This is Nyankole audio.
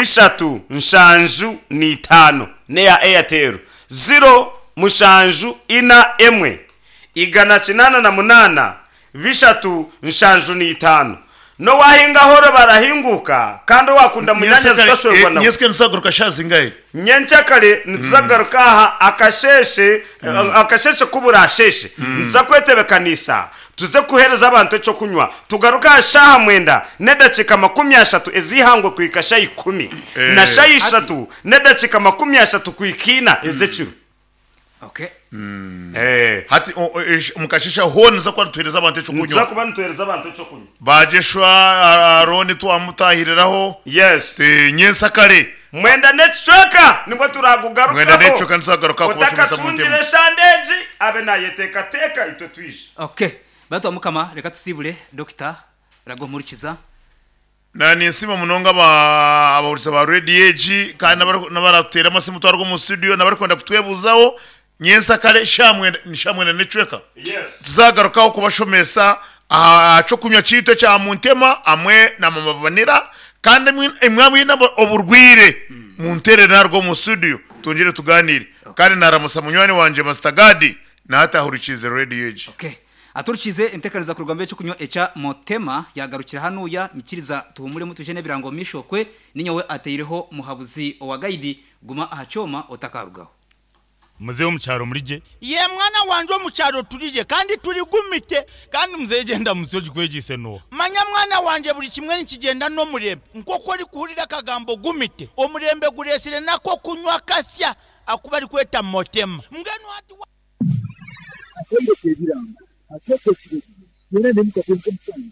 Bishatu nshanju na itaano n'eya Airtel, ziro mushanju ina emwe, 188, bishatu nshanju na itaano. N'owahingaho ore barahinguka, kandi owakunda munyaanyazi tashwerwa nawe. Nyentsya nituzagaruka shaaha zingahi? Nyenkyakare nituza kugaruka aha akasheeshe, akasheeshe ku buraasheeshe, nituza kwetebekaniisa Tuze kuheereza abantu eky'okunywa, tugaruke aha shaaha mwenda n'edakiika 30 ez'eihangwe kuhika shaaha ikumi na shaaha ishatu n'edakiika 30 kuhika ina ez'ekiro. Okay. Eh. Hati o- o- esh- omu kasheeshe hoona niza kuba nituheereza abantu Nituza eky'okunywa. kuba nituheereza abantu eky'okunywa. Bagyeshwa Arooni twamutaahiriraho. Yes. Eh, nyensakare. Mwenda n'ekicweka nibwo Mwenda turaagugarukaho. n'ekicweka nituzagaruka aha kubashomesa mu Otakatungire ntemu. eshande egi, abe naayeteekateeka itwe twije. Okay. Bantu ba Mukama reka tusiibure Dokita Ragomurukiza. Na ninsiima munonga aba abahurikiza ba rediyo egi kandi n'abari n'abaratuteera amasimu twaruga omu studio n'abarikwenda kutwebuuzaho nyensakare shaaha mwenda ni shaaha mwenda n'ekicweka Yes. tuzagarukaho kubashomesa aha ky'okunywa kyaitu ekya Muntema hamwe na Mama Vanilla kandi imwe abaine oburwaire munteerere naruga omu studio twongyere tugaaniire kandi naramusa munywani wangye Master Gadi na hati ahurikiize rediyo egi. Okay. Aturikiize enteekaniza kuruga omu by'ekyokunywa ekya Motema yaagarukira hanuuya nyikiriza tuhumuremu twije n'ebirango omu maisho okwe ninyowe ateireho muhabuzi owa gaidi guma aha kyoma otakarugaho. Muzeeyi omu kyaro muri gye. Yee mwana wangye omu kyaro turi gye kandi turi gumite. Kandi muzeeyi egyo endamutsyo ogikwegyeise n'oha? Manya mwana wangye buri kimwe nikigyenda n'omurembe. Nk'oku orikuhurira akagambo gumite, omurembe gureetsire n'ak'okunywa kasya aku barikweta motema. Mbwenu hati wa. Akaire k'ebirango akeekwo ekiro kimwe, twena n'emikago nk'omusango.